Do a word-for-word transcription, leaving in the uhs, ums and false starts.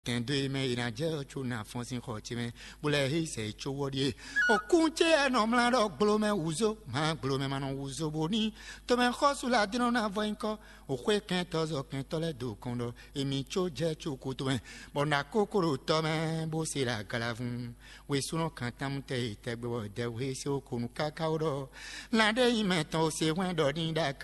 Tɛn dó e mɛ è nǎ jɛ ɔ́ có ná fɔ́n sín xɔ ce mɛ, bó lɛ́ hé sɛ yi có wɔ ɖíe. Òkún ce ɛ nɔ mlá ɖɔ gblomɛ wǔzó, má gblomɛ ma nɔ wǔzó bó ní. Tomɛ xɔ́sú la dínɔ ná vɔ nyí kɔ́. Òxwé kɛntɔ́ zɔ kɛntɔ́ lɛ́ɛ dó kɔn ɖɔ èmi có jɛ có kútu mɛ, bɔ nǎ kókó ɖo tɔ mɛ bó se ɖo agalavun. Wěsúnɔ kan támú tɛ yi tɛgbɛ bɔ dɛwú he se ó konu káká ó ɖɔ: Lan ɖé nyí mɛ tɔn ó se hwɛ́n ɖɔ ní ɖo